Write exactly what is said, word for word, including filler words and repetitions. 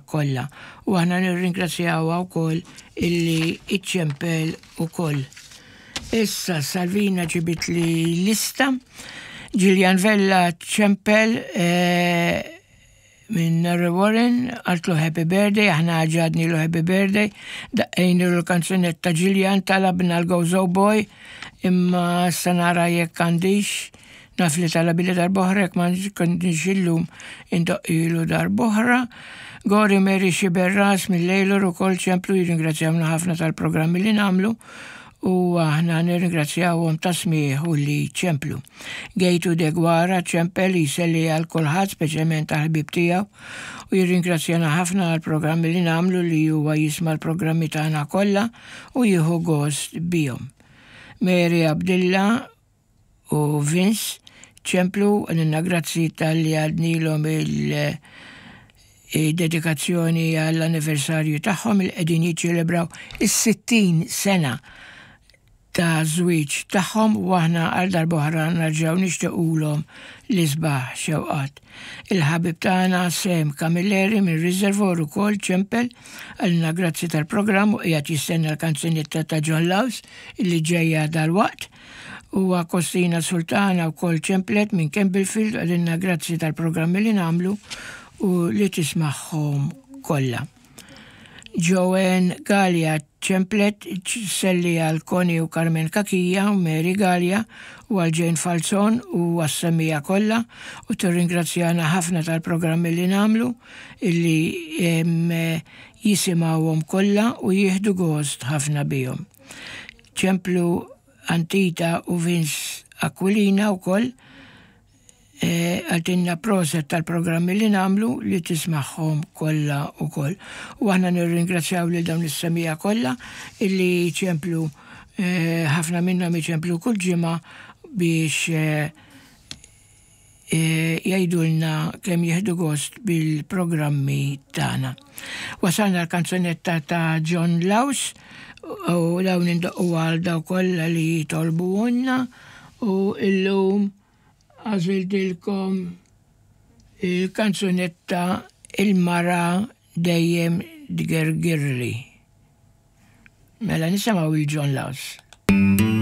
kollha. U aħna nirringrazzjawha wkoll illi iċċempel ukoll. Issa Salvina ġibitli lista. Gillian Vella ċempel eh, minn Narre Warren, qaltlu happy birthday, aħna għidnielu happy birthday, daqqejnielu l-kanzunetta. Gillian talabna l-Gozo Boy, imma sa nara jekk għandix, naf li talabhieli darb'oħra, jekk ma kontix illum indoqqilu darb'oħra. Gori Mary Xiberras mill-Lejlor ukoll ċemplu, jirringrazzjawna ħafna tal-programmi li nagħmlu u aħna nirringrazzjawhom tas-smigħ u li ċemplu. Gejtu Degwara ċempel jselli għal kulħadd, speċjalment għal ħbieb tiegħu, u jirringrazzjana ħafna għal programmi li nagħmlu, li huwa jisma' l-programmi tagħna kollha u jieħu gost bihom. Mary Abdilla u Vince ċemplu għalina, grazzi talli għidnielhom il- dedikazzjoni għall-anniversarju tagħhom, il qegħdin jiċċelebraw is-sittin sena ta' żwieġ tagħhom u aħna għal darb'oħra nerġgħu nixtiequlhom l-isbaħ xewqat. Il-ħabib tagħna Sem Camilleri minn Reservoir ukoll ċempel, qalilna grazzi tal-programm u qiegħed jistenna l-kanzunetta ta' John Laws illi ġejja dal-waqt. U Kostina Sultana wkoll ċemplet minn Campbellfield, qaltilna grazzi tal-programmi li nagħmlu u li tismagħhom kollha. Joanne Gallia ċemplet sselli għal Connie u Carmen Kakija u Mary Gallia u għal Jane Falzon u għas-semmiegħa kollha u tirringrazzjana ħafna tal-programmi li nagħmlu, illi jisimgħuhom kollha u jieħdu gost ħafna bihom. Ċemplu Antita u Vince Aquilina wkoll, qaltilna proset tal-programmi li nagħmlu, li tismagħhom kollha ukoll. U aħna nirringrazzjaw lil dawn is-semmiegħa kollha illi ċemplu, ħafna minnhom iċemplu kull ġimgħa biex jgħidulna kemm jieħdu gost bil-programmi tagħna. Wasalna l-kanzunetta ta' John Laus u dawn indoqqu għal daw kollha li jitolbuhulna u illum għażiltilkom il-kanzunetta "Il-Mara Dejjem Tgergirli". Mela nisimgħu il-John Laus.